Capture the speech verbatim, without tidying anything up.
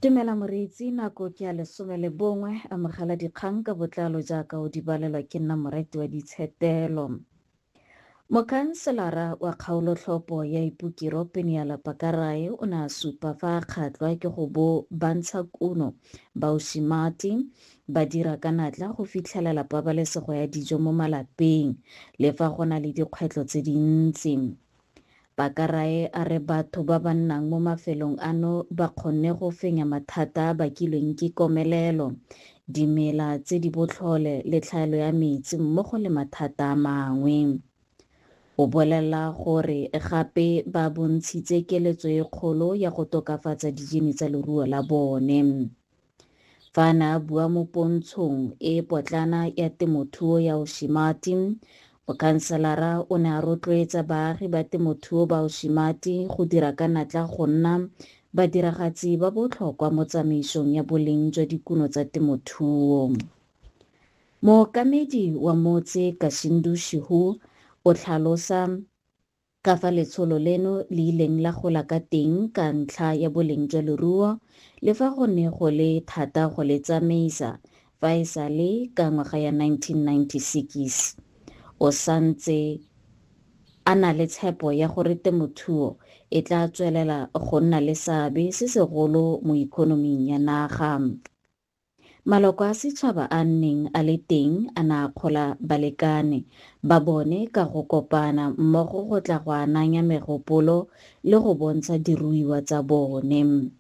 Dumela moreetsi, nako ke ya lesome le bongwe, amogela dikgang ka botlalo jaaka o di balelwa ke nna Morati wa Ditshetelo. Mokhanselara wa kgaolotlhopho ya Ipukiro Peniela Pakarae o ne a supa fa a kgatlhwa ke go bo bantshakuno ba Oshimati ba dira ka natla go fitlhelela pabalesego ya dijo mo malapeng le fa go na le dikgwetlho tse dintsi. Pakarae a re batho ba ba nnang mo mafelong ano ba kgonne go fenya mathata a bakilweng ke komelelo, dimela tse di botlhole le tlhaelo ya metsi mmogo le mathata a mangwe. O bolela gore gape ba bontshitse keletso e kgolo ya go tokafatsa dijini tsa leruo la bone. Fa a ne a bua mo pontshong e potlana ya temothuo ya Oshimati, mokhanselara o ne a rotloetsa baagi ba temothuo ba Oshimati go dira ka natla go nna badiragatsi ba botlhokwa mo tsamaisong ya boleng jwa dikuno tsa temothuo. Mookamedi wa motse Kashindu Shihu o tlhalosa ka fa letsholo leno le ileng la gola ka teng ka ntlha ya boleng jwa leruo le fa go ne go le thata go le tsamaisa fa e sale ka ngwaga ya nineteen ninety-six. O santse a na le tshepo ya gore temothuo e tla tswelela go nna le seabe se segolo mo ikonoming ya naga. Maloko a setšhaba a nneng a le teng a ne a kgola balekane ba bone ka go kopana mmogo go tla go ananya megopolo le go bontsha diruiwa tsa bone.